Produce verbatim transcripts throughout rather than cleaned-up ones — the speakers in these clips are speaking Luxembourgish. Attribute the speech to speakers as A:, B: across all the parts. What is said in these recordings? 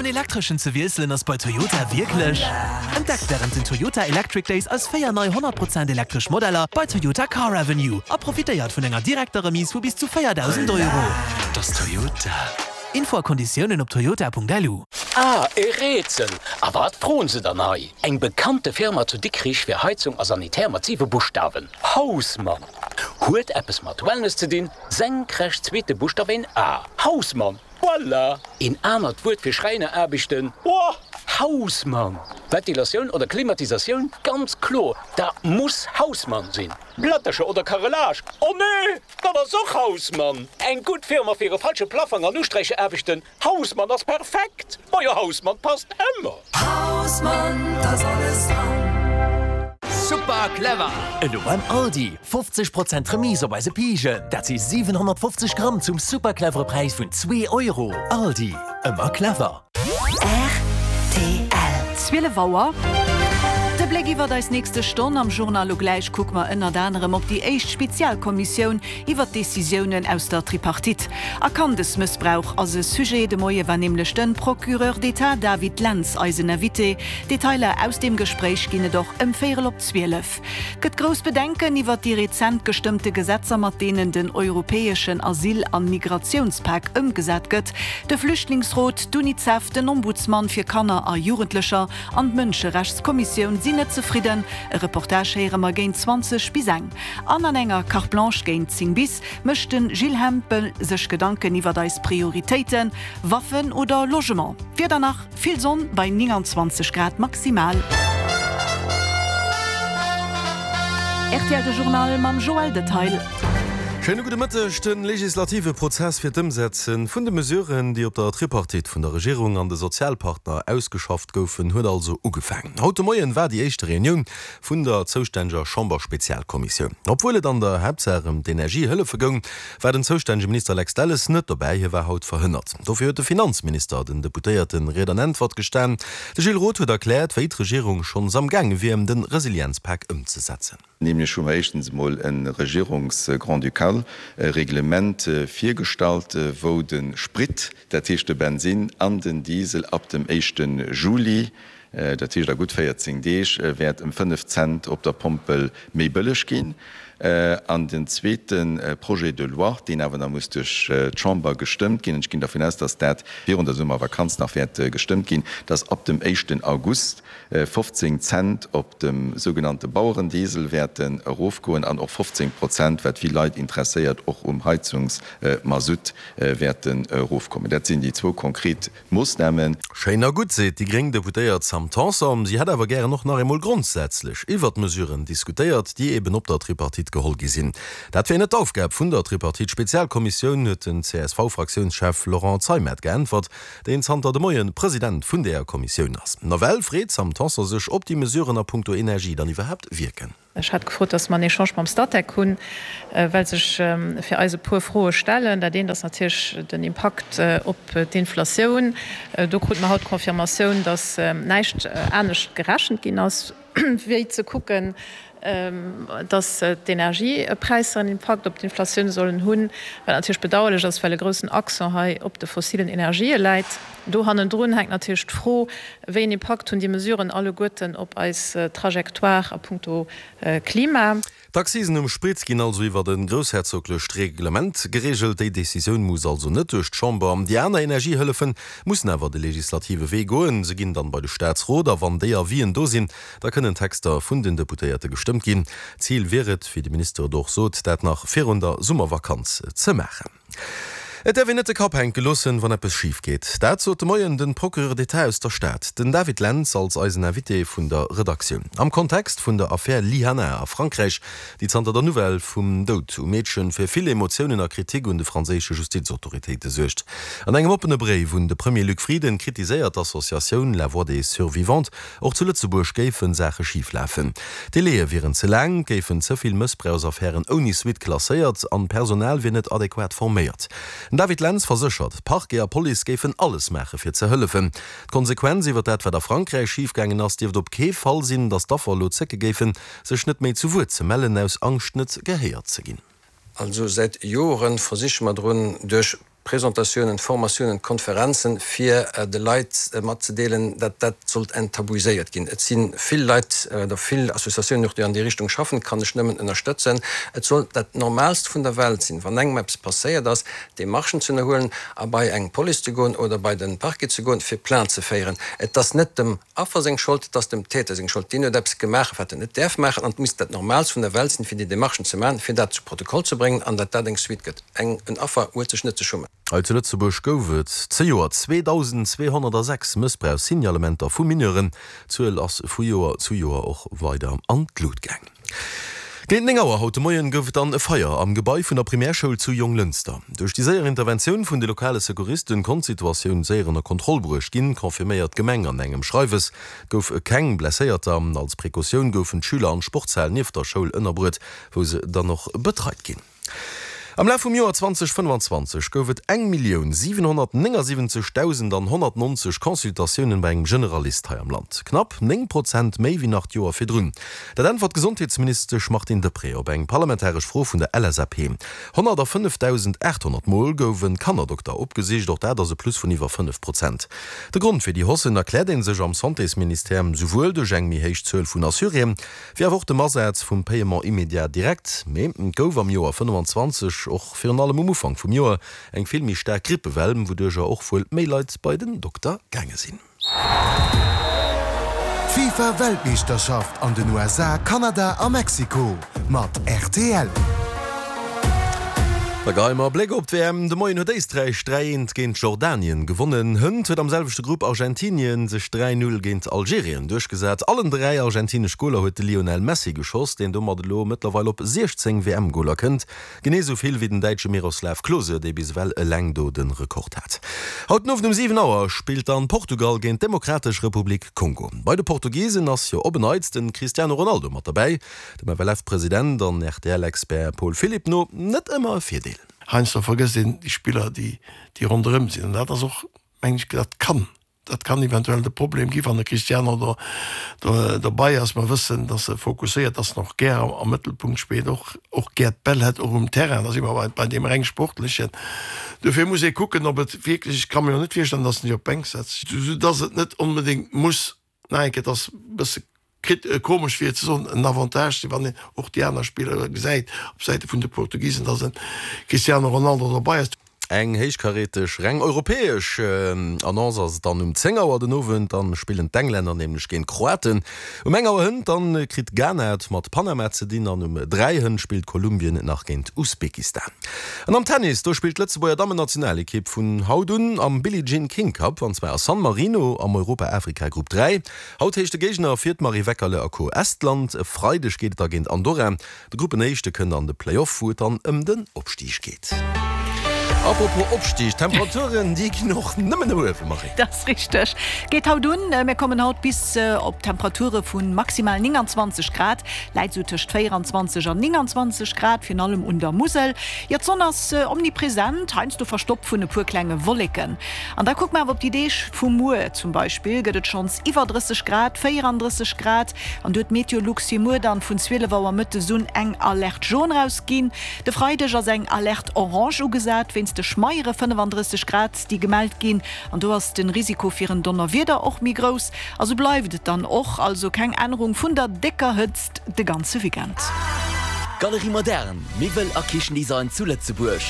A: elektreschen ze wiesselen ass bei Toyota wierklech. Entdeckt wärend den Toyota Electric Days eis véier nei honnert Prozent elektresch Modeller bei Toyota Car Avenue a profitéiert vun enger direkter Remise vu bis zu véierdausend Euro. Dat ass Toyota. Info a Konditiounen op toyota Punkt L U.
B: Ah, e Rätsel! A wat froen se dann hei? Eng bekannte Firma zu Dikrich fir Heizung a Sanitär mat siwe Buschtawen. Hausmann! Huet eppes mat Wellness ze dinn, senkrecht zweete Buschtaf een A. Hausmann! Voilà! Een anert Wuert fir Schräineraarbechten? Woah! Hausmann! Ventilatioun oder Klimatisatioun? Ganz kloer, dat muss Hausmann sinn! Plättercher oder Carrelage? Oh nee! Dat ass och Hausmann! Eng gutt Firma fir e falsche Plaffong an Usträichaarbechten? Hausmann ass perfekt! Majo, Hausmann passt ëmmer!
C: Hausmann, da ass alles dran!
D: Super clever! Elo beim Aldi, fofzeg Prozent Remise op eise Pijen, dat si siwenhonnertfofzeg Gramm zum super clevere Präis vun zwee Euro. Aldi, ëmmer clever!
E: Rtl.
F: Zwielef Auer. De Bléck iwwert eis nächste Stonn am Journal. Lo gläich kucke mer ënnert anerem op déi éischt Spezialkommissioun iwwert d'Decisiounen aus der Tripartite. A Kandesmëssbrauch ass e Sujet. De Moie war nämlech de Procureur d'État David Lentz eisen Invité. Detailer aus deem Gespréich ginn et och ëm véierel op zwielef. Gëtt grouss Bedenken iwwert déi rezent gestëmmte Gesetzer, mat deenen den europäeschen Asyl an Migratiounspak ëmgesat gëtt. De Flüchtlingsrot, d'Unicef, den Ombudsman fir Kanner a Jugendlecher an d'Mënscherechtskommissioun sinn net zefridden. E Reportage héiere mer géint zwanzeg bis eng. An an enger Carte Blanche géint zéng bis mécht de Gilles Hempel sech Gedanken iwwert eis Prioritéiten, Waffen oder Logement. D'Wieder nach, Vill Sonn bei nénganzwanzeg Grad maximal. Rtl De Journal mam Joël Detail.
G: Schéine gudde Mëtteg. De legislative Prozess fir d'Ëmsetze vun de Mesuren, déi op der Tripartite vun der Regierung an de Sozialpartner ausgeschafft goufen, huet also ugefaangen. Haut de Moien war déi éischte Reunioun vun der zoustänneger Chamberspezialkommissioun. Obwuel et an der Haaptsaach ëm d'Energiehëllefe goung, war den zoustännege Minister Lex Delles net dobäi, hie war haut verhënnert. Dofir huet de Finanzminister den Deputéierte Ried an Äntwert gestan. De Gilles Roth huet erkläert, wéi d'Regierung schonns am gaange wier, de Resilienzpak ëmzesetzen.
H: Nämlech hu mer éischtens emol e Regierungs-grand-ducal Reglement virgestallt, wou de Sprit, dat heescht de Bensinn an den Diesel ab dem éischte Juli, dat heescht a gutt véierzéng Deeg, wäert ëm fënnef Cent op der Pompel méi bëlleg ginn. An den zweete Projet de loi, deen awer nach muss duerch d'Chamber gestëmmt ginn, an ech ginn dervun aus, dass dat virun der Summervakanz nach wäert gestëmmt ginn, dass ab dem éischten August fofzéng Cent op dem sougenannte Bauerendiesel wäerten erofgoen an och fofzéng Prozent, wat vill Leit interesséiert, och um Heizungsmasutt wäerten erofkommen. Dat sinn déi zwou konkret Moossnamen.
G: Schéin a gutt, seet déi gréng Deputéiert Sam Tanson. Si hätt awer gären och nach eemol grondsätzlech iwwert d'Mesuren diskutéiert, déi eben op der Tripartite geholl gi sinn. Dat wier net d'Aufgab vun der Tripartite-Spezialkommissioun, huet den C S V-Fraktiounschef Laurent Zeimet geäntwert, deen zanter de Moie President vun där Kommissioun ass. Nawell freet d'Sam Tanson sech, ob déi Mesuren a punkto Energie dann iwwerhaapt wierken.
I: Ech hat gefrot, dass mer en Echange mam Statec hunn, well sech fir eis e puer Froe stellen. Dat eent ass natierlech den Impakt op d'Inflatioun. Do krute mer haut d'Confirmatioun, dass näischt anescht gerechent ginn ass, wéi ze kucken, dass d'Energiepräisser en Impakt op d'Inflatioun sollen hunn, wat natierlech bedauerlech ass, well e groussen Accent hei op de fossilen Energië läit. Do hannendrun hänkt natierlech d'Fro, Wéi en Impakt hunn déi Mesuren alleguerten op eis Trajectoire a puncto Klima?
G: D'Accisen um Sprit ginn also iwwert e groussherzoglecht Reglement gereegelt. Déi Decisioun muss also net duerch d'Chamber. Déi aner Energiehëllefe mussen awer de legislative Wee goen. Se ginn dann bei de Staatsrot a wann déi Avisen do sinn, da kënnen Texter vun den Deputéierte gestëmmt ginn. Zil wier et, wéi de Minister et och sot, dat nach virun der Summervakanz ze maachen. Et däerf een net de Kapp hänke loossen, wann eppes schif geet. Dat sot de Moien de Procureur d'État aus der Stad, den David Lentz, als eisen Invité vun der Redaktioun. Am Kontext vun der Affär Lyhanna a Frankräich, déi zanter der Nouvelle vum Doud um Meedchen fir vill Emotiounen a Kritik un de franséische Justizautoritéite suergt. An engem oppene Bréif un de Premier Luc Frieden kritiséiert d'Associatioun La Voix des Survivantes, och zu Lëtzebuerg géife Saache schif lafen. D'Délaië wieren ze laang, et géifen ze vill Mëssbrauchsaffären ouni Suite klasséiert an d'Personal wier net adequat forméiert. Den David Lentz verséchert, Parquet a Police géifen alles maache fir ze hëllefen. D'Konsequenz iwwer dat wat a Frankräich schifgaangen ass, dierft op kee Fall sinn, datt d'Affer elo zécke géifen, sech net méi zu Wuert ze mellen, aus Angscht net gehéiert ze ginn.
J: Also säit Joren versiche mer drun, duerch Presentatiounen, Formatiounen, Konferenzen, fir de Leit matzedeelen, datt dat sollt enttabuiséiert ginn. Et si vill Leit oder vill Associatiounen och, déi an déi Richtung schaffen, kann ech nëmmen ënnerstëtzen. Et soll dat Normaalst vun der Welt sinn, wann engem eppes passéiert ass, Demarchen ze ënnerhuelen a bei eng Police ze goen oder bei de Parquet ze goen, fir Plainte ze féieren. Et ass net dem Affer seng Schold, et ass dem Täter seng Schold. Deen huet eppes gemaach, wat en net däerf maachen an et misst dat Normaalst vun der Welt sinn, fir déi Demarchen ze maachen, fir dat zu Protokoll ze bréngen an datt dat eng Suite gëtt. Eng, en Affer huet sech net ze schummen.
G: Hei zu Lëtzebuerg gouf et zejoert zweedausend zweehonnertasechs Mëssbrauchssignalementer vu Mineuren. D'Zuel ass vu Joer zu Joer och weider an d'Lut gaangen. Géint néng Auer haut de Moien gouf et dann e Feier am Gebai vun der Primärschoul zu Jonglënster. Duerch déi séier Interventioun vun de lokale Secouristen konnt d'Situatioun séier ënner Kontroll bruecht ginn, confirméiert d'Gemeng an engem Schreiwes. Et gouf keng Blesséierter. Als Precautioun goufen d'Schüler an d'Sportshal nieft der Schoul ënnerbruet, wou se dann och betreit ginn. Am Laf vum Joer zweedausendfënnfanzwanzeg gouf et eng Millioun siwenhonnertnéngasiwwenzeg Dausend an honnertnonzeg Consultatiounen bei engem Generalist hei am Land. Knapp néng Prozent méi wéi nach d'Joer virdrun. Dat äntwert d'Gesondheetsministesch Martine Deprez op eng parlamentaresch Fro vun der L S A P. Honnertafënnefdausendaathonnert Mol gouf e Kannerdokter opgesicht, och dat ass e Plus vun iwwer fënnef Prozent. De Grond fir déi Hausse erkläert ee sech am Santésministère souwuel duerch eng méi héich Zuel vun Assuréen, wéi awer och dem Asaz vum Paiement immédiat direct. Mee et gouf am Joer fënnefanzwanzeg och virun allem um Ufank vum Joer eng vill méi staark Grippewell, wouduercher och wuel méi Leit bei den Dokter gaange sinn.
K: D'FIFA Weltmeeschterschaft an den U S A, Kanada a Mexiko mat R T L.
G: Da geheie mer e Bléck op d'W M. De Moien huet Éisträich dräi eent géint Jordanien gewonnen. Hënt huet am selwechte Grupp Argentinien sech dräi null géint Algerien duerchgesat. Allen dräi argentinesch Goler huet de Lionel Messi geschoss, deen domat elo mëttlerweil op siechzéng W M-Goler kënnt. Genee esou vill wéi den Däitsche Miroslav Klose, dee bis ewell eleng do de Rekord hat. Haut den Owend um siwen Auer spillt dann Portugal géint d'Demokratesch Republik Kongo. Bei de Portugisen ass jo op en Neits de Cristiano Ronaldo mat derbäi. Dem F L F-President an R T L-Expert Paul Philipp no net ëmmer e Virdeel.
L: Heiansdo vergësst een déi Spiller, déi déi ronderëm sinn. An dat ass och, mengen ech, dat kann dat kann eventuell de Problem gi wann de Cristiano do do dobäi ass. Mer wëssen, datt e fokusséiert ass, och gär am am Mëttelpunkt spillt, och och gär d'Bäll hätt, och um Terrain. Da si mer bei bei deem reng Sportlechen. Dofir muss ee kucken, ob et wierklech, ech ka mir jo net virstellen, datt en sech op d'Bänk setzt, soudatt et net onbedéngt muss, nach eng Kéier, et ass e bësse Kritt komesch fir ze soen, en Avantage sinn, wann een och déi aner Spiller gesäit op Säite vun de Portugisen, datt e Cristiano Ronaldo dobei ass.
G: Eng héichkaräteg reng europäesch Annonce ass et dann um zéng Auer den Owend. Dann spillen d'Englänner nämlech géint d'Kroaten. Um eng Auer hënt dann kritt Ghana et mat Panama ze dinn an um dräi hënt spillt Kolumbien nach géint Usbekistan. An am Tennis, do spillt d'Lëtzebuerger Dammennationalekipp vun haut un am Billie Jean King Cup, an zwar a San Marino am Europa-Afrika-Grupp dräi. Haut heescht de Géigner fir d'Marie Weckerle a Co Estland. E Freideg geet et da géint Andorra. De Gruppenéischte kënnt an de Playoff, wou et dann ëm den Opstig geet. Apropos Opstig, d'Temperaturen, déi ginn och nëmmen no uewen, Marie.
F: Dat ass richteg. Geet haut un. Mir kommen haut bis op Temperature vu maximal nénganzwanzeg Grad, läit esou tëscht véieranzwanzeg an nénganzwanzeg Grad, virun allem un der Musel. Jo, d'Sonn ass omnipresent, heiansdo verstoppt vun e puer klenge Wolleken. An da kucke mer awer op déi Deeg vu muer, Zum Beispill gëtt et schonns iwwer drësseg Grad, véierandrësseg Grad, an do huet Meteolux fir muer dann vun zwielef Auer mëttes un eng Alerte jaune rausginn. De Freideg ass eng Alerte orange ugesat wéinst de schmeiere fënnefandrësseg Grad, déi gemellt ginn, an do ass de Risiko fir en Donnerwieder och méi grouss. A sou bleift et dann och, also keng Ännerung vun der décker Hëtzt de ganze Weekend.
M: Galerie Moderne, Miwwel a Kichendesign zu Lëtzebuerg.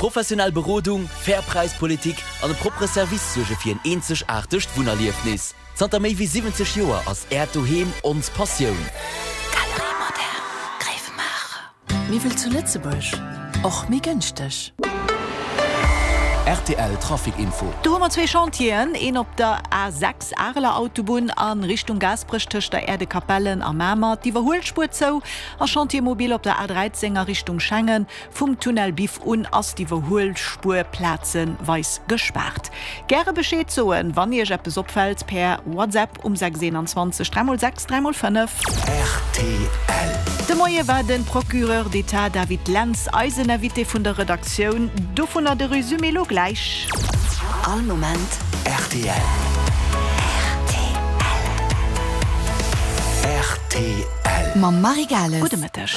M: Professionell Berodung, fair Präispolitik an e proppere Service suerge fir en eenzegaartegt Wunnerliefnis. Zanter méi wéi siwwenzeg Joer ass Äert Doheem ons Passioun.
E: Galerie Moderne, Gréiwemaacher. Miwwel zu Lëtzebuerg, och méi gënschteg.
M: R T L Trafic Info.
F: Do hu mer zwee Chantieren, een op der A sechs Areler Autobunn a Richtung Gaasperech tëscht der Aire de Capellen a Mamer, d'Iwwerhuelspuer zou, a Chantier mobile op der A dräizéng a Richtung Schengen, vum Tunnel Biff un ass d'Iwwerhuelspuer plazeweis gespaart. Gäre Bescheed soen, wann Iech eppes opfält, per WhatsApp um sechs eenanzwanzeg dräi mol sechs dräi mol fënnef.
D: R T L.
F: De Moie war de Procureur d'État David Lentz eisen Invité vun der Redaktioun. Dovunner de Resumé elo gläich.
E: All Moment
D: R T L.
E: R T L.
D: R T L.
E: Mam Marie Gales.
F: Gudde Mëtteg.